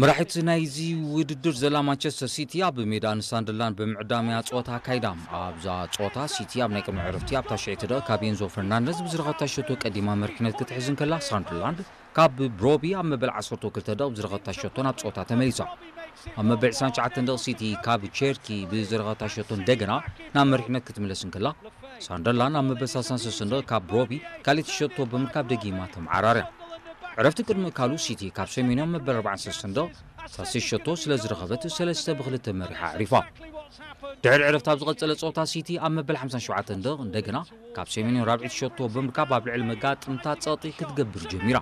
መራሒት ናይዚ ውድድር ዘላ ማንቸስተር ሲቲ ኣብ ሜዳ ንሳንደርላንድ ብምዕዳም እያ ጸወታ ኣካይዳ። ኣብዛ ጸወታ ሲቲ ኣብ ናይ ቅድሚ ዕረፍቲ ኣብታ ሽዒ ትደቕ ካብ ኤንዞ ፈርናንደዝ ብዝረኸብታ ሸቶ ቀዲማ መሪሕነት ክትሕዝ እንከላ፣ ሳንደርላንድ ካብ ብሮቢ ኣብ መበል ዓሰርተ ክልተ ደቕ ብዝረኸብታ ሸቶ ናብ ጸወታ ተመሊሳ። ኣብ መበል ዕስራን ትሽዓተን ደቕ ሲቲ ካብ ቸርኪ ብዝረኸብታ ሸቶ እንደገና ናብ መሪሕነት ክትምለስ እንከላ፣ ሳንደርላንድ ኣብ መበል ሰላሳን ሰለስተን ደቕ ካብ ብሮቢ ካልኣይቲ ሸቶ ብምርካብ ደጊማ ተመዓራርያ። ዕረፍቲ ቅድሚ ምእካሉ ሲቲ ካብ ሰሜንዮ መበል ኣርባዓን ሰለስተን ደቕ ሳልሰይቲ ሸቶ ስለ ዝረኸበት ሰለስተ ብክልተ መሪሓ ኣዕሪፋ። ድሕሪ ዕረፍቲ ኣብ ዝቐጸለ ጸወታ ሲቲ ኣብ መበል ሓምሳን ሸውዓተን ደቕ እንደገና ካብ ሰሜንዮ ራብዒቲ ሸቶ ብምርካብ ኣብ ልዕሊ መጋጥምታ ጸቕጢ ክትገብር ጀሚራ።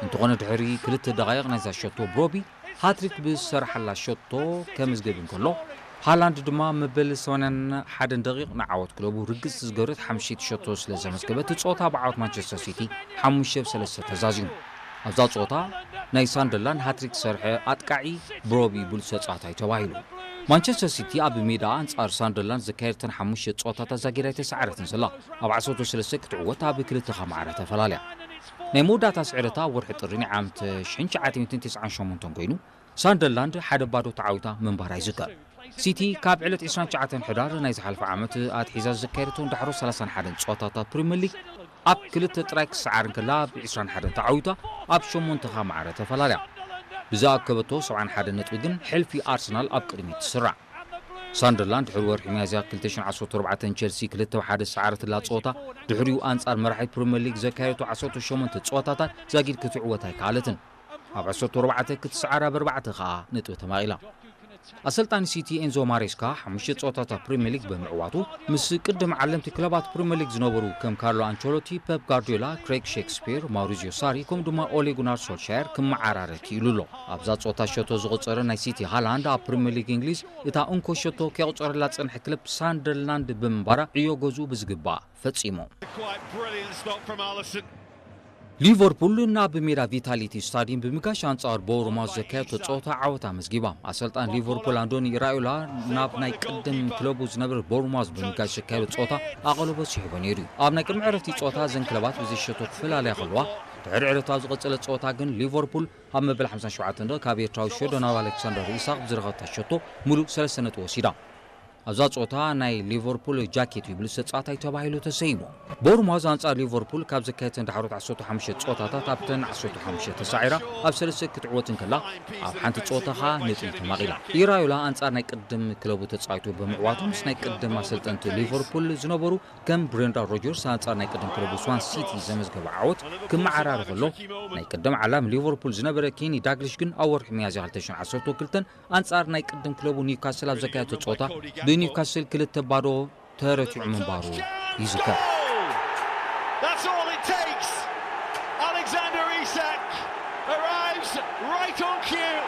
እንተኾነ ድሕሪ ክልተ ደቓይቕ ናይዛ ሸቶ ብሮቢ ሃትሪክ ብዝሰርሓላ ሸቶ ከመዝግብ እንከሎ፣ ሃላንድ ድማ መበል ሰማንያን ሓደን ደቒቕ ንዓወት ክለቡ ርግጽ ዝገበረት ሓምሸይቲ ሸቶ ስለ ዘመዝገበት፣ እቲ ጸወታ ብዓወት ማንቸስተር ሲቲ ሓሙሽተ ብ ሰለስተ ተዛዚሙ። ኣብዛ ጸወታ ናይ ሳንደርላንድ ሃትሪክ ዝሰርሐ ኣጥቃዒ ብሮቢ ብሉጽ ተጻዋታይ ተባሂሉ። ማንቸስተር ሲቲ ኣብ ሜዳ ኣንጻር ሳንደርላንድ ዘካየደተን ሓሙሽተ ጸወታታት ዛጊድ ኣይተሰዓረትን ዘላ። ኣብ ዓሰርተ ሰለስተ ክትዕወት ኣብ ክልተ ማዕረ ተፈላለያ። ናይ መወዳእታ ስዕረታ ኣብ ወርሒ ጥሪ ናይ ዓመት ሽሕን ትሽዓተ ሚእትን ተስዓን ሸሞንተን ኮይኑ፣ ሳንደርላንድ ሓደ ባዶ ተዓዊታ ምንባራ ይዝከር። ሲቲ ካብ ዕለት ዕስራን ትሽዓተን ሕዳር ናይ ዝሓለፈ ዓመት ኣትሒዛ ዘካየደቶ ንዳሕሮ ሰላሳን ሓደን ጸወታታት ፕሪምየር ሊግ ኣብ ክልተ ጥራይ ክሰዓር እንከላ፣ ብ ዕስራን ሓደን ተዓዊታ ኣብ ሸሞንተ ከኣ ማዕረ ተፈላለያ። ብዝኣከበቶ ሰብዓን ሓደን ነጥቢ ግን ሕልፊ ኣርሰናል ኣብ ቅድሚት ትስራዕ። ሳንደርላንድ ድሕሪ ወርሒ ሚያዝያ ክልተ ሽሕን ዓሰርተ ኣርባዕተን ቸልሲ ክልተ ብ ሓደ ዝሰዓረትላ ጸወታ፣ ድሕሪኡ ኣንጻር መራሒት ፕሪምየር ሊግ ዘካየደቶ ዓሰርተ ሸሞንተ ጸወታታት ዛጊድ ክትዕወት ኣይከኣለትን። ኣብ ዓሰርተ ኣርባዕተ ክትሰዓር፣ ኣብ ኣርባዕተ ከኣ ነጥቢ ተማቒላ። ኣሰልጣኒ ሲቲ ኤንዞ ማሬስካ ሓሙሽተ ጸወታታት ፕሪምየር ሊግ ብምዕዋቱ፣ ምስ ቅድም ዓለምቲ ክለባት ፕሪምየር ሊግ ዝነበሩ ከም ካርሎ ኣንቸሎቲ፣ ፔፕ ጋርዲዮላ፣ ክሬግ ሼክስፒር፣ ማውሪዚዮ ሳሪ ከምኡ ድማ ኦሌ ጉናር ሶልሻየር ክመዓራረ ክኢሉ ኣሎ። ኣብዛ ጸወታ ሸቶ ዝቖጸረ ናይ ሲቲ ሃላንድ፣ ኣብ ፕሪምየር ሊግ እንግሊዝ እታ እንኮ ሸቶ ከየቑጸረላ ዝጸንሐ ክለብ ሳንደርላንድ ብምንባራ፣ ዕዮ ገዝኡ ብዝግባእ ፈጺሙ። Quite brilliant stop from Alisson. ሊቨርፑል ናብ ሜዳ ቪታሊቲ ስታዲየም ብምጋሽ ኣንጻር ቦርማውዝ ዘካየደቶ ጸወታ ዓወት ኣመዝጊባ። ኣሰልጣን ሊቨርፑል ኣንዶኒ ኢራዮላ ናብ ናይ ቅድም ክለቡ ዝነበረ ቦርማውዝ ብምጋሽ ዘካየዶ ጸወታ ኣቐልቦ ስሒቡ ነይሩ እዩ። ኣብ ናይ ቅድሚ ዕረፍቲ ጸወታ እዘን ክለባት ብዘይሸቶ ክፈላለያ ከለዋ፣ ድሕሪ ዕረፍቲ ኣብ ዝቐጸለ ጸወታ ግን ሊቨርፑል ኣብ መበል ሓምሳን ሸውዓተን ደቂ ካብ ኤርትራዊ ሸዶናብ ኣሌክሳንደር ኢሳቕ ብዝረኸብታ ሸቶ ሙሉእ ሰለስተ ነጥቢ ወሲዳ። ኣብዛ ጸወታ ናይ ሊቨርፑል ጃኬት እዩ ብሉጽ ተጻዋታይ ተባሂሉ ተሰይሙ። ቦርማውዝ ኣንጻር ሊቨርፑል ካብ ዘካየደተን ዳሕሮት ዓሰርተ ሓሙሽተ ጸወታታት ኣብተን ዓሰርተ ሓሙሽተ ተሳዒራ ኣብ ሰለስተ ክትዕወት እንከላ፣ ኣብ ሓንቲ ጸወታ ኸኣ ነጥቢ ተማቒላ። ኢራዮላ ኣንጻር ናይ ቅድም ክለቡ ተጻዊቱ ብምዕዋቱ ምስ ናይ ቅድም ኣሰልጠንቲ ሊቨርፑል ዝነበሩ ከም ብሬንዳን ሮጀርስ ኣንጻር ናይ ቅድም ክለቡ ስዋን ሲቲ ዘመዝገበ ዓወት ክመዓራረ ከሎ፣ ናይ ቅድም ዓላሚ ሊቨርፑል ዝነበረ ኬኒ ዳግሊሽ ግን ኣብ ወርሒ ሚያዝያ ክልተ ሽሕን ዓሰርተ ክልተን ኣንጻር ናይ ቅድም ክለቡ ኒውካስል ኣብ ዘካየደቶ ጸወታ ብኒውካስል ክልተ ባዶ ተረቲዑ ምንባሩ ይዝከር። That's all it takes. Alexander Isak arrives right on cue,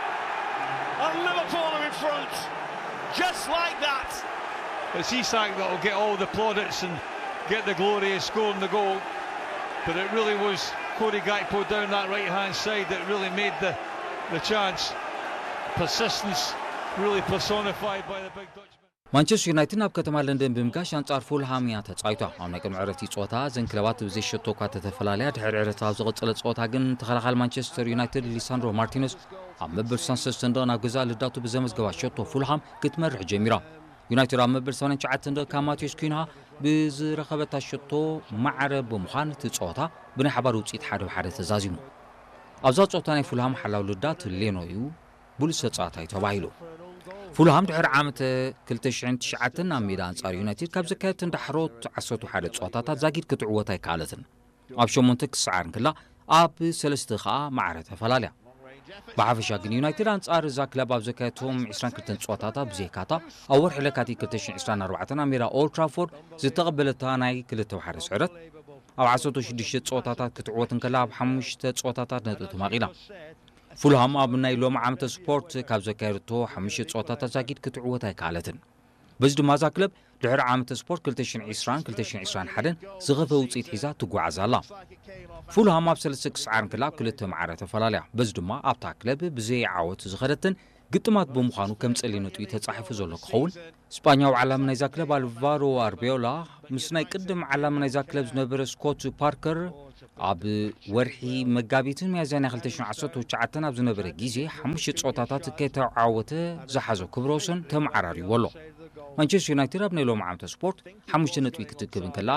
and Liverpool are in front, just like that. It's Isak that'll get all the plaudits and get the glory of scoring the goal, but it really was Cody Gakpo down that right hand side that really made the, the chance. Persistence really personified by the big Dutchman. ማንቸስተር ዩናይትድ ናብ ከተማ ለንደን ብምጋሽ ኣንጻር ፉልሃም እያ ተጻዊታ። ኣብ ናይ ቅድሚ ዕረፍቲ ጸወታ እዘን ክለባት ብዘይ ሸቶ እኳ ተተፈላለያ፣ ድሕሪ ዕረፍቲ ኣብ ዝቐጸለ ጸወታ ግን ተኸላኻሊ ማንቸስተር ዩናይትድ ሊሳንድሮ ማርቲነስ ኣብ መበል ስሳን ሰለስተን ደቕ ናብ ገዛእ ልዳቱ ብዘመዝገባ ሸቶ ፉልሃም ክትመርሕ ጀሚራ። ዩናይትድ ኣብ መበል ሰማንያን ትሽዓተን ደቕ ካብ ማቴዎስ ኩንሃ ብዝረኸበታ ሸቶ ማዕረ ብምዃን እቲ ጸወታ ብናይ ሓባር ውጽኢት ሓደ ብ ሓደ ተዛዚሙ። ኣብዛ ጸወታ ናይ ፉልሃም ሓላው ልዳት ሌኖ እዩ ብሉጽ ተጻዋታይ ተባሂሉ። ፉልሃም ድሕሪ ዓመት ክልተ ሽሕን ትሽዓተን ኣብ ሜዳ ኣንጻር ዩናይትድ ካብ ዘካየደተን ዳሕሮት ዓሰርተ ሓደ ጸወታታት ዛጊድ ክትዕወት ኣይከኣለትን። ኣብ ሸሞንተ ክሰዓር እንክላ ኣብ ሰለስተ ከኣ ማዕረ ተፈላለያ። ብሓፈሻ ግን ዩናይትድ ኣንጻር እዛ ክለብ ኣብ ዘካየደቶም ዕስራን ክልተን ጸወታታት ብዘይካታ ኣብ ወርሒ ለካቲት ክልተ ሽሕን ዕስራን ኣርባዕተን ኣብ ሜዳ ኦልድ ትራፎርድ ዝተቐበለታ ናይ ክልተ ብ ሓደ ስዕረት ኣብ ዓሰርተ ሽዱሽተ ጸወታታት ክትዕወት እንከላ ኣብ ሓሙሽተ ጸወታታት ነጥቢ ተማቒላ። ፉልሃም ኣብ ናይ ሎም ዓመተ ስፖርት ካብ ዘካየደቶ ሓሙሽተ ጸወታታት ዛጊድ ክትዕወት ኣይከኣለትን። በዚ ድማ እዛ ክለብ ድሕሪ ዓመተ ስፖርት ክልተ ሽሕን ዕስራን ክልተ ሽሕን ዕስራን ሓደን ዝኸፍአ ውጽኢት ሒዛ ትጓዓዝ ኣላ። ፉልሃም ኣብ ሰለስተ ክስዓር እንክላ ክልተ ማዕረ ተፈላለያ። በዚ ድማ ኣብታ ክለብ ብዘይ ዓወት ዝኸደተን ግጥማት ብምዃኑ ከም ጸሊም ነጥቢ ተጻሒፉ ዘሎ ክኸውን፣ ስጳኛዊ ዓላሚ ናይዛ ክለብ ኣልቫሮ ኣርቤዮላ ምስ ናይ ቅድም ዓላሚ ናይዛ ክለብ ዝነበረ ስኮት ፓርከር ኣብ ወርሒ መጋቢትን ሚያዝያን ናይ ክልተ ሽሕን ዓሰርተ ትሽዓተን ኣብ ዝነበረ ግዜ ሓሙሽተ ጸወታታት ከይተዓወተ ዝሓዞ ክብረ ወሰን ተመዓራርይዎ ኣሎ። ማንቸስተር ዩናይትድ ኣብ ናይ ሎም ዓመተ ስፖርት ሓሙሽተ ነጥቢ ክትክብ እንከላ፣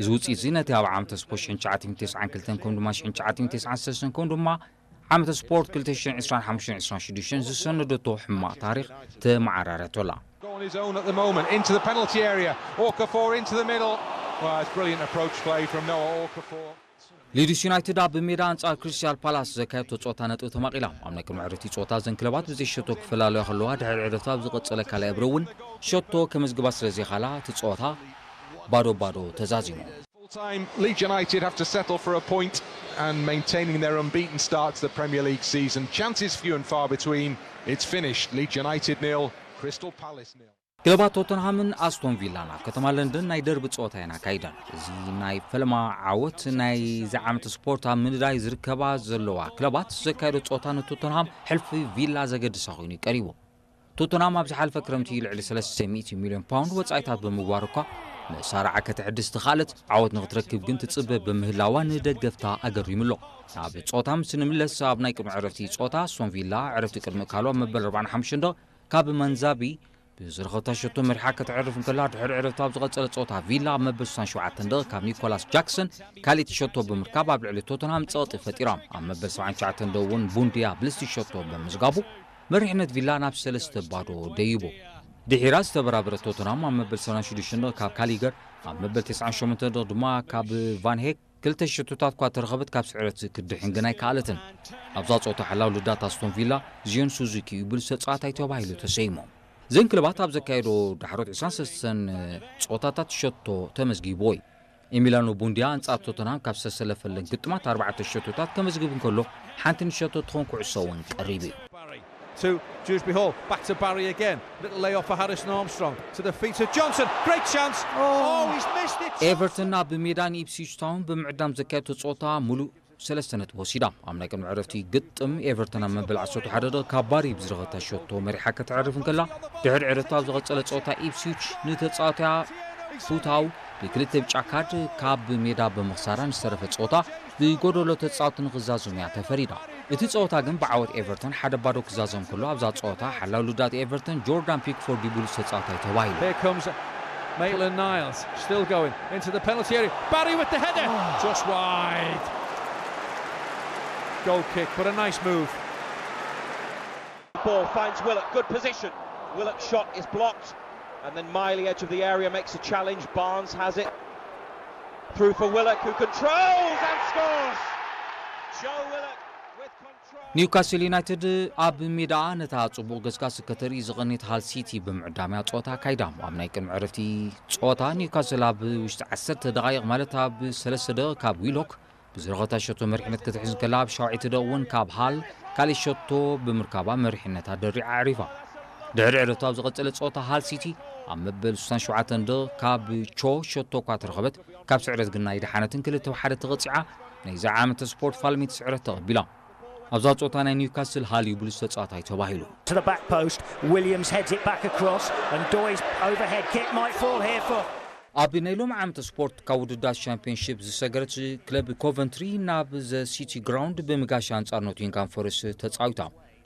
እዚ ውጽኢት እዚ ነቲ ኣብ ዓመተ ስፖርት ሽሕን ትሽዓተ ሚእትን ተስዓን ክልተን ከም ድማ ሽሕን ትሽዓተ ሚእትን ተስዓን ሰለስተን ከም ድማ ዓመተ ስፖርት ክልተ ሽሕን ዕስራን ሓሙሽተን ዕስራን ሽዱሽተን ዝሰነደቶ ሕማቕ ታሪኽ ተመዓራረቶላ። On his own at the moment, into the penalty area. Okafor into the middle. Well, it's brilliant approach play from Noah Okafor. ሊድስ ዩናይትድ ኣብ ሜዳ ኣንጻር ክሪስታል ፓላስ ዘካየድቶ ጸወታ ነጥቢ ተማቒላ። ኣብ ናይ ቅድሚ ዕረፍቲ ጸወታ እዘን ክለባት ብዘይ ሸቶ ክፈላለያ ከለዋ፣ ድሕሪ ዕረፍቲ ኣብ ዝቐጸለ ካልኣይ እብረ እውን ሸቶ ከመዝግባ ስለ ዘይኻላ፣ እቲ ጸወታ ባዶ ባዶ ተዛዚሙ። Full time, Leeds United have to settle for a point and maintaining their unbeaten start to the Premier League season. Chances few and far between. It's finished. Leeds United nil, Crystal Palace nil. ክለባት ቶተንሃምን ኣስቶን ቪላን ኣብ ከተማ ለንደን ናይ ደርቢ ጸወታ እየን ኣካይደን። እዚ ናይ ፈለማ ዓወት ናይ ዝዓመት ስፖርት ኣብ ምንዳይ ዝርከባ ዘለዋ ክለባት ዘካየዶ ጸወታ ንቶተንሃም ሕልፊ ቪላ ዘገድሳ ኮይኑ እዩ ቀሪቡ። ቶተንሃም ኣብ ዝሓለፈ ክረምቲ ልዕሊ ሰለስተ ሚእቲ ሚልዮን ፓውንድ ወጻኢታት ብምግባር እኳ መሳርዓ ከተዕድስ ተኻለት፣ ዓወት ንኽትረክብ ግን ትጽበ ብምህላዋ ንደገፍታ ኣገሪሙ ኣሎ። ናብ ጸወታ ምስ ንምለስ፣ ኣብ ናይ ቅድሚ ዕረፍቲ ጸወታ ኣስቶን ቪላ ዕረፍቲ ቅድሚ እካሉ ኣብ መበል ኣርባዓን ሓሙሽተን ደቕ ካብ መንዛቢ ብዝረኸብታ ሸቶ መሪሓ ከተዕርፍ እንከላ፣ ድሕሪ ዕረፍቲ ኣብ ዝቐጸለ ጸወታ ቪላ ኣብ መበል ስሳን ሸውዓተን ደቕ ካብ ኒኮላስ ጃክሰን ካልኣይቲ ሸቶ ብምርካብ ኣብ ልዕሊ ቶተንሃም ጸቕጢ ፈጢራ። ኣብ መበል ሰብዓን ትሽዓተን ደቕ እውን ቡንድያ ብልስቲ ሸቶ ብምዝጋቡ መሪሕነት ቪላ ናብ ሰለስተ ባዶ ደይቡ። ድሒራ ዝተበራበረ ቶተንሃም ኣብ መበል ሰብዓን ሽዱሽተን ደቕ ካብ ካሊገር፣ ኣብ መበል ተስዓን ሸሞንተን ደቕ ድማ ካብ ቫን ሄክ ክልተ ሸቶታት እኳ ተረኸበት፣ ካብ ስዕረት ክድሕን ግን ኣይከኣለትን። ኣብዛ ጸወታ ሓላው ልዳት ኣስቶን ቪላ ዚዮን ሱዙኪ እዩ ብሉጽ ተጻዋታይ ተባሂሉ ተሰይሙ። እዘን ክለባት ኣብ ዘካየዶ ዳሕሮት ዕስራን ሰለስተን ጸወታታት ሸቶ ተመዝጊብዎ እዩ። ኤሚላኖ ቡንድያ ኣንጻር ቶተንሃም ካብ ዝተሰለፈለን ግጥማት ኣርባዕተ ሸቶታት ከመዝግብ እንከሎ፣ ሓንቲ ንሸቶ ትኾን ኩዕሶ እውን ቀሪቡ እዩ። Barry to Dewsbury Hall, back to Barry again. Little layoff for Harrison Armstrong. To the feet of Johnson. Great chance. Oh, he's missed it. ኤቨርተን ኣብ ሜዳ ንኢፕስዊች ታውን ብምዕዳም ዘካየደቶ ጸወታ ሙሉእ ሰለስተ ነጥቢ ወሲዳ። ኣብ ናይ ቅድሚ ዕረፍቲ ግጥም ኤቨርተን ኣብ መበል ዓሰርተ ሓደ ደቂቕ ካብ ባሪ ብዝረኸብታ ሸቶ መሪሓ ከተዕርፍ እንከላ፣ ድሕሪ ዕረፍቲ ኣብ ዝቐጸለ ጸወታ ኢፕስዊች ንተጻዋትያ ፉታው ብክልተ ብጫ ካርድ ካብ ሜዳ ብምኽሳራ ንዝተረፈ ጸወታ ብጎደሎ ተጻወቲ ንኽዛዘም እያ ተፈሪዳ። እቲ ጸወታ ግን ብዓወት ኤቨርተን ሓደ ባዶ ክዛዘም ከሎ፣ ኣብዛ ጸወታ ሓላው ልዳት ኤቨርተን ጆርዳን ፒክፎርድ እዩ ብሉጽ ተጻዋታይ ተባሂሉ። Here comes Maitland Niles, still going into the penalty area. Barry with the header, just wide. Goal kick, but a nice move. Ball finds Willock, good position. Willock's shot is blocked, and then Miley, edge of the area, makes a challenge. Barnes has it. Through for Willock, who controls and scores! Joe Willock with control. ኒውካስል ዩናይትድ ኣብ ሜዳኣ ነታ ጽቡቕ ገስጋስ ከተርኢ ዝቐንየት ሃል ሲቲ ብምዕዳም እያ ጸወታ ኣካይዳ። ኣብ ናይ ቅድሚ ዕረፍቲ ጸወታ ኒውካስል ኣብ ውሽጢ ዓሰርተ ደቓይቕ፣ ማለት ኣብ ሰለስተ ደቂቕ ካብ ዊሎክ ብዝረኸብታ ሸቶ መሪሕነት ክትሕዝ እንከላ፣ ኣብ ሻውዓይቲ ደቂቕ እውን ካብ ሃል ካልእ ሸቶ ብምርካባ መሪሕነታ ደሪዓ ኣዕሪፋ። ድሕሪ ዕረፍቲ ኣብ ዝቐጸለ ጸወታ ሃል ሲቲ ኣብ መበል ስሳን ሸውዓተን ደቂቕ ካብ ቾ ሸቶ እኳ ተረኸበት፣ ካብ ስዕረት ግን ኣይደሓነትን፣ ክልተ ብሓደ ተቐጺዓ። ናይዚ ዓመተ ስፖርት ፋልሚት ስዕረት ተቐቢላ። ኣብዛ ጸወታ ናይ ኒውካስል ሃል እዩ ብሉጽ ተጻዋታይ ተባሂሉ። To the back post, Williams heads it back across, and Doy's overhead kick might fall here for. ኣብ ናይ ሎም ዓመተ ስፖርት ካብ ውድዳት ሻምፒዮንሺፕ ዝሰገረት ክለብ ኮቨንትሪ ናብ ዘ ሲቲ ግራውንድ ብምጋሻ ኣንጻር ኖቲንግሃም ፎረስት ተጻዊታ።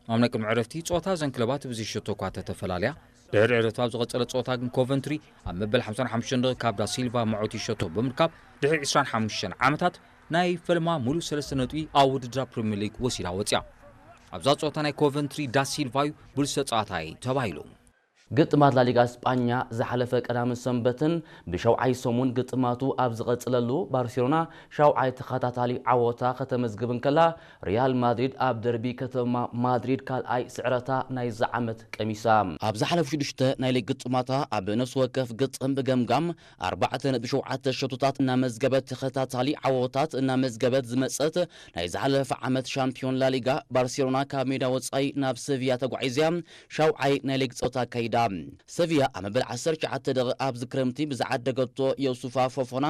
ኣብ ናይ ቅድሚ ዕረፍቲ ጸወታ እዘን ክለባት ብዘይ ሸቶ እኳ ተተፈላለያ፣ ድሕሪ ዕረፍቲ ኣብ ዝቐጸለ ጸወታ ግን ኮቨንትሪ ኣብ መበል ሓምሳን ሓሙሽተን ደቂቕ ካብ ዳሲልቫ መዖቲ ሸቶ ብምርካብ ድሕሪ ዕስራን ሓሙሽተን ዓመታት ናይ ፈልማ ሙሉእ ሰለስተ ነጥቢ ኣብ ውድድራ ፕሪምየር ሊግ ወሲዳ ወጽያ። ኣብዛ ጸወታ ናይ ኮቨንትሪ ዳሲልቫ እዩ ብሉጽ ተጻዋታይ ተባሂሉ። ግጥማት ላሊጋ ስጳኛ ዝሓለፈ ቀዳምን ሰንበትን ብሸውዓይ ሰሙን ግጥማቱ ኣብ ዝቐጽለሉ፣ ባርሴሎና ሸውዓይ ተኸታታሊ ዓወታ ከተመዝግብ እንከላ፣ ሪያል ማድሪድ ኣብ ደርቢ ከተማ ማድሪድ ካልኣይ ስዕረታ ናይዚ ዓመት ቀሚሳ። ኣብ ዝሓለፉ ሽዱሽተ ናይ ሊግ ግጥማታ ኣብ ነፍሲ ወከፍ ግጥም ብገምጋም ኣርባዕተ ነጥቢ ሸውዓተ ሸቶታት እናመዝገበት ተኸታታሊ ዓወታት እናመዝገበት ዝመጸት ናይ ዝሓለፈ ዓመት ሻምፒዮን ላሊጋ ባርሴሎና ካብ ሜዳ ወጻኢ ናብ ሰቪያ ተጓዒዝያ ሻውዓይ ናይ ሊግ ጸወታ ኣካይዳ። ኣውጺኣ። ሰቪያ ኣብ መበል ዓሰርተ ትሽዓተ ደቂቕ ኣብዚ ክረምቲ ብዝዓደገቶ የሱፋ ፎፎና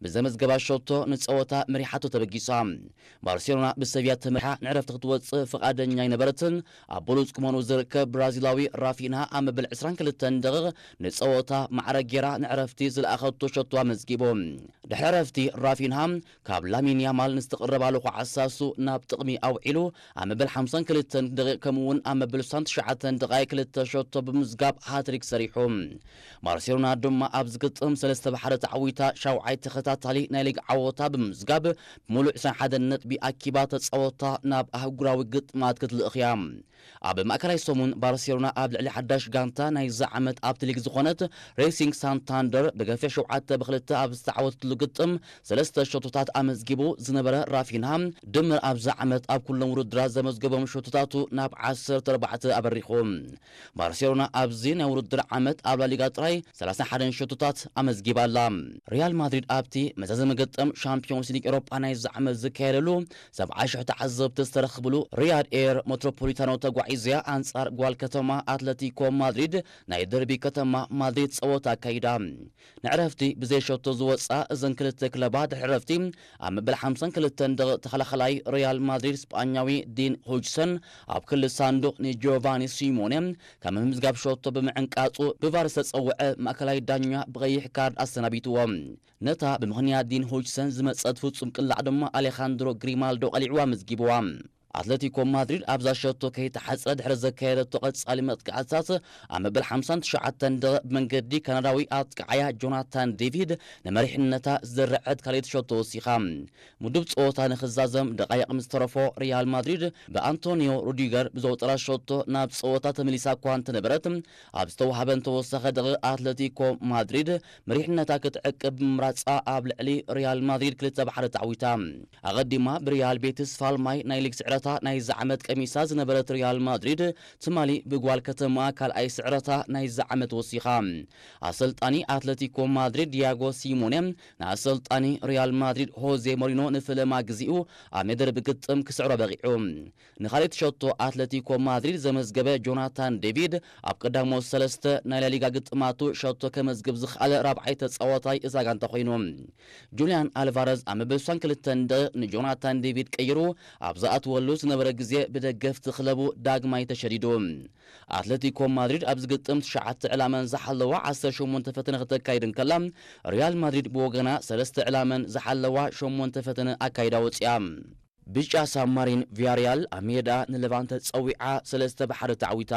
ብዘመዝገባ ሸቶ ንጸወታ መሪሓቶ ተበጊሳ። ባርሴሎና ብሰቪያ ተመሪሓ ንዕረፍቲ ክትወጽእ ፍቓደኛ ኣይነበረትን። ኣብ ብሉጽ ቁመኑ ዝርከብ ብራዚላዊ ራፊንሃ ኣብ መበል ዕስራን ክልተን ደቂቕ ንጸወታ ማዕረ ጌራ ንዕረፍቲ ዝለኣኸቶ ሸቶ ኣመዝጊቡ። ድሕሪ ዕረፍቲ ራፊንሃ ካብ ላሚን ያማል ንዝተቐረባሉ ኳዕሳሱ ናብ ጥቕሚ ኣውዒሉ ኣብ መበል ሓምሳን ክልተን ደቂቕ ከምኡ እውን ኣብ መበል ስሳን ትሽዓተን ደቓይ ክልተ ሸቶ ብምዝጋብ ሃትሪክ ሰሪሑ። ባርሴሎና ድማ ኣብዚ ግጥም ሰለስተ ብሓደ ተዓዊታ ሻውዓይ ተኸታታሊ ናይ ሊግ ዓወታ ብምዝጋብ ብምሉእ ዕስራን ሓደን ነጥቢ ኣኪባ ተጻወታ ናብ ኣህጉራዊ ግጥማት ክትልእኽ እያ። ኣብ ማእከላይ ሰሙን ባርሴሎና ኣብ ልዕሊ ሓዳሽ ጋንታ ናይዚ ዓመት ኣብቲ ሊግ ዝኾነት ሬሲንግ ሳንታንደር ብገፊሕ ሸውዓተ ብክልተ ኣብ ዝተዓወተትሉ ግጥም ሰለስተ ሸቶታት ኣመዝጊቡ ዝነበረ ራፊንሃ ድምር ኣብዚ ዓመት ኣብ ኩሎም ውድድራት ዘመዝገቦም ሸቶታቱ ናብ ዓሰርተ ኣርባዕተ ኣበሪኹ። ባርሴሎና ኣብዚ ናይ ውድድር ዓመት ኣብ ላሊጋ ጥራይ ሰላሳ ሓደን ሸቶታት ኣመዝጊባ ኣላ። ሪያል ማድሪድ ኣብቲ መዛዘሚ ግጥም ሻምፒዮንስ ሊግ ኤሮጳ ናይዚ ዓመት ዝካየደሉ ሰብዓ ሽሕ ተዓዘብቲ ዝተረኽብሉ ሪያድ ኤር ሜትሮፖሊታኖ ተጓዒዝያ ኣንጻር ጓል ከተማ ኣትለቲኮ ማድሪድ ናይ ደርቢ ከተማ ማድሪድ ጸወታ ኣካይዳ። ንዕረፍቲ ብዘይ ሸቶ ዝወጻ እዘን ክልተ ክለባት ድሕሪ ዕረፍቲ ኣብ መበል ሓምሳን ክልተን ደቂቕ ተኸላኸላይ ሪያል ማድሪድ ስጳኛዊ ዲን ሆጅሰን ኣብ ክሊ ሳንዱቕ ንጂዮቫኒ ሲሞኔ ካብ ምምዝጋብ ሸቶ ብምዕንቃጹ ብቫር ዝተጸውዐ ማእከላይ ዳኛ ብቐይሕ ካርድ ኣሰናቢትዎ። ነታ ብምኽንያት ዲን ሆጅሰን ዝመጸት ፍጹም ቅላዕ ድማ ኣሌኻንድሮ ግሪማልዶ ቀሊዕዋ ኣመዝጊብዋ። ኣትለቲኮ ማድሪድ ኣብዛ ሸቶ ከይተሓጽረ ድሕሪ ዘካየደቶ ቀጻሊ መጥቃዕትታት ኣብ መበል ሓምሳን ትሽዓተን ደቂቕ ብመንገዲ ካናዳዊ ኣጥቃዓያ ጆናታን ዴቪድ ንመሪሕነታ ዝደረዐት ካልኣይቲ ሸቶ ወሲኻ። ምዱብ ጸወታ ንኽዛዘም ደቓይቕ ምስ ተረፎ ሪያል ማድሪድ ብኣንቶኒዮ ሩዲገር ብዘውጠራ ሸቶ ናብ ጸወታ ተመሊሳ እኳ እንተነበረት ኣብ ዝተዋህበን ተወሳኺ ደቂቕ ኣትለቲኮ ማድሪድ መሪሕነታ ክትዕቅብ ብምምራጻ ኣብ ልዕሊ ሪያል ማድሪድ ክልተ ብሓደ ተዓዊታ። ኣቐዲማ ብሪያል ቤቲስ ፋልማይ ናይ ሊግ ስዕረታ ናይዚ ዓመት ቀሚሳ ዝነበረት ሪያል ማድሪድ ትማሊ ብጓል ከተማ ካልኣይ ስዕረታ ናይዚ ዓመት ወሲኻ። ኣሰልጣኒ ኣትለቲኮ ማድሪድ ዲያጎ ሲሞኔ ንኣሰልጣኒ ሪያል ማድሪድ ሆዜ ሞሪኖ ንፈለማ ግዜኡ ኣብ ሜዳ ደርቢ ግጥም ክስዕሮ በቒዑ። ንኻልኣይቲ ሸቶ ኣትለቲኮ ማድሪድ ዘመዝገበ ጆናታን ዴቪድ ኣብ ቀዳሞት ሰለስተ ናይ ላሊጋ ግጥማቱ ሸቶ ከመዝግብ ዝኸኣለ ራብዓይ ተጻዋታይ እዛ ጋንታ ኮይኑ። ጁልያን ኣልቫረዝ ኣብ መበል ስሳን ክልተን ደቂቕ ንጆናታን ዴቪድ ቀይሩ ኣብ ዝኣትወሉ ዝነበረ ግዜ ብደገፍቲ ክለቡ ዳግማይ ተሸዲዱ። ኣትለቲኮ ማድሪድ ኣብዚ ግጥም ትሽዓተ ዕላመን ዝሓለዋ ዓሰርተ ሸሞንተ ፈተነ ክተካይድ እንከላ፣ ሪያል ማድሪድ ብወገና ሰለስተ ዕላመን ዝሓለዋ ሸሞንተ ፈተነ ኣካይዳ ወጺኣ። ብጫ ሳብማሪን ቪያሪያል ኣብ ሜዳ ንሌቫንተ ጸዊዓ ሰለስተ ብሓደ ተዓዊታ።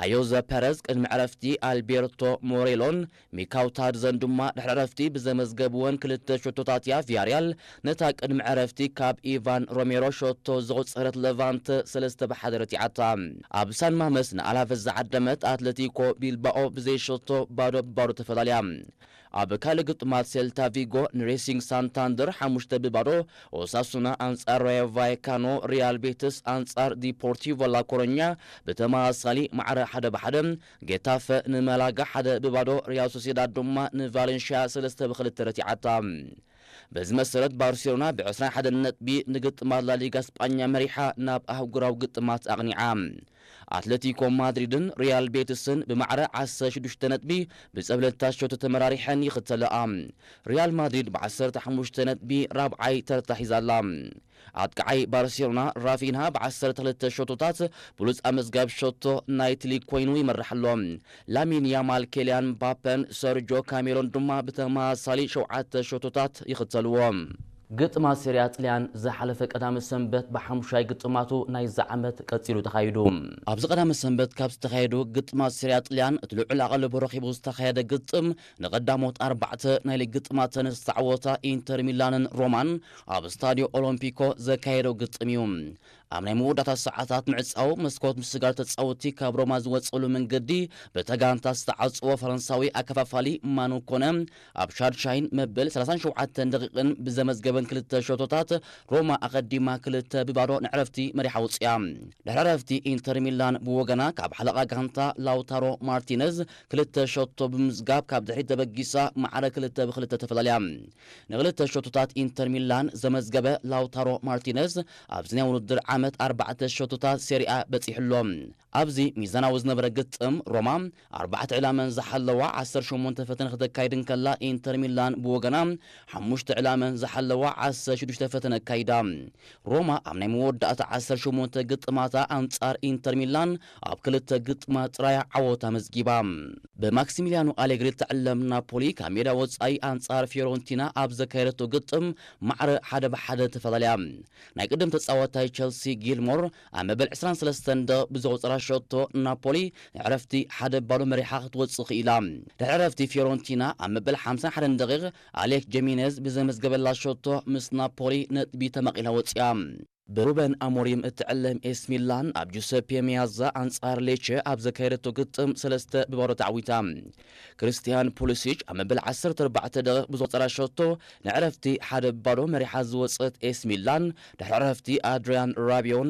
ኣዮዘ ፐረዝ ቅድሚ ዕረፍቲ ኣልቤርቶ ሞሬሎን ሚካውታድዘን ድማ ድሕሪ ዕረፍቲ ብዘመዝገብወን ክልተ ሸቶታት እያ ቪያሪያል ነታ ቅድሚ ዕረፍቲ ካብ ኢቫን ሮሜሮ ሸቶ ዘቑጸረት ሌቫንተ ሰለስተ ብሓደ ረቲዓታ። ኣብ ሳን ማመስ ንኣላቨስ ዝዓደመት ኣትለቲኮ ቢልባኦ ብዘይ ሸቶ ባዶ ብባዶ ተፈላልያ። ኣብ ካልእ ግጥማት ሴልታ ቪጎ ንሬሲንግ ሳንታንደር ሓሙሽተ ብባዶ፣ ኦሳሱና ኣንጻር ራዮ ቫይካኖ፣ ሪያል ቤትስ ኣንጻር ዲፖርቲቮ ላኮሮኛ ብተመሳሳሊ ማዕረ ሓደ ብሓደ፣ ጌታፈ ንማላጋ ሓደ ብባዶ፣ ሪያል ሶሴዳድ ድማ ንቫሌንሽያ ሰለስተ ብክልተ ረቲዓታ። በዚ መሰረት ባርሴሎና ብ ዕስራን ሓደን ነጥቢ ንግጥማት ላሊጋ ስጳኛ መሪሓ ናብ ኣህጉራዊ ግጥማት ኣቕኒዓ። ኣትለቲኮ ማድሪድን ሪያል ቤትስን ብማዕረ ዓሰርተ ሽዱሽተ ነጥቢ ብጸብለልታ ሸቶ ተመራሪሐን ይኽተለኣ። ሪያል ማድሪድ ብዓሰርተ ሓሙሽተ ነጥቢ ራብዓይ ተርታ ሒዛ ኣላ። ኣጥቃዓይ ባርሴሎና ራፊንሃ ብዓሰርተ ክልተ ሸቶታት ብሉጽ ኣመዝጋቢ ሸቶ ናይቲ ሊግ ኮይኑ ይመርሕ ኣሎ። ላሚን ያማል፣ ኬልያን ምባፐን ሰርጆ ካሜሮን ድማ ብተመሳሳሊ ሸውዓተ ሸቶታት ይኽተልዎ። ግጥማት ሴሪያ ጥልያን ዝሓለፈ ቀዳመ ሰንበት ብሓሙሻይ ግጥማቱ ናይዚ ዓመት ቀጺሉ ተኻይዱ። ኣብዚ ቀዳመ ሰንበት ካብ ዝተኻየዱ ግጥማት ሴሪያ ጥልያን እቲ ልዑል ኣቓልቦ ረኺቡ ዝተኻየደ ግጥም ንቐዳሞት ኣርባዕተ ናይ ሊግ ግጥማተን ዝተዓወታ ኢንተር ሚላንን ሮማን ኣብ ስታዲዮ ኦሎምፒኮ ዘካየደው ግጥም እዩ። ኣብ ናይ መወዳእታ ሰዓታት ምዕጻው መስኮት ምስጋር ተጻወትቲ ካብ ሮማ ዝወጸሉ መንገዲ በታ ጋንታ ዝተዓጽዎ ፈረንሳዊ ኣከፋፋሊ ማኑ ኮነ ኣብ ሻድሻይን መበል ሰላሳን ሸውዓተን ደቂቕን ብዘመዝገበን ክልተ ሸቶታት ሮማ ኣቐዲማ ክልተ ብባዶ ንዕረፍቲ መሪሓ ውጽያ። ድሕሪ ዕረፍቲ ኢንተር ሚላን ብወገና ካብ ሓለቓ ጋንታ ላውታሮ ማርቲነዝ ክልተ ሸቶ ብምዝጋብ ካብ ድሕሪት ተበጊሳ ማዕረ ክልተ ብክልተ ተፈላልያ። ንክልተ ሸቶታት ኢንተር ሚላን ዘመዝገበ ላውታሮ ማርቲነዝ ኣብዚ ናይ ውድድር ዓመት ኣርባዕተ ሸቶታት ሴሪኣ በጺሑ ኣሎ። ኣብዚ ሚዛናዊ ዝነበረ ግጥም ሮማ ኣርባዕተ ዕላመን ዝሓለዋ ዓሰርተ ሸሞንተ ፈተነ ክተካይድ እንከላ፣ ኢንተር ሚላን ብወገና ሓሙሽተ ዕላመን ዝሓለዋ ዓሰርተ ሽዱሽተ ፈተነ ኣካይዳ። ሮማ ኣብ ናይ መወዳእታ ዓሰርተ ሸሞንተ ግጥማታ ኣንጻር ኢንተር ሚላን ኣብ ክልተ ግጥማት ጥራያ ዓወት ኣመዝጊባ። ብማክሲሚሊያኖ ኣሌግሪ እትዕለም ናፖሊ ካብ ሜዳ ወጻኢ ኣንጻር ፊዮረንቲና ኣብ ዘካየደቶ ግጥም ማዕረ ሓደ ብሓደ ተፈላለያ። ናይ ቅድም ተጻዋታይ ቸልሲ ጊልሞር ኣብ መበል ዕስራን ሰለስተን ደቂቕ ብዘቑጸራ ሸቶ ናፖሊ ዕረፍቲ ሓደ ባዶ መሪሓ ክትወጽእ ክኢላ። ድሕሪ ዕረፍቲ ፊዮረንቲና ኣብ መበል ሓምሳን ሓደን ደቂቕ ኣሌክ ጀሚኔዝ ብዘመዝገበላ ሸቶ ምስ ናፖሊ ነጥቢ ተመቒላ ወጺኣ። ብሩበን ኣሞሪም እትዕለም ኤስ ሚላን ኣብ ጁሰፔ ሚያዛ ኣንጻር ሌቸ ኣብ ዘካየደቶ ግጥም ሰለስተ ብባዶ ተዓዊታ። ክርስቲያን ፑሊሲች ኣብ መበል ዓሰርተ ኣርባዕተ ደቂቕ ብዘቑጸራ ሸቶ ንዕረፍቲ ሓደ ባዶ መሪሓ ዝወጸት ኤስ ሚላን ድሕሪ ዕረፍቲ ኣድሪያን ራቢዮን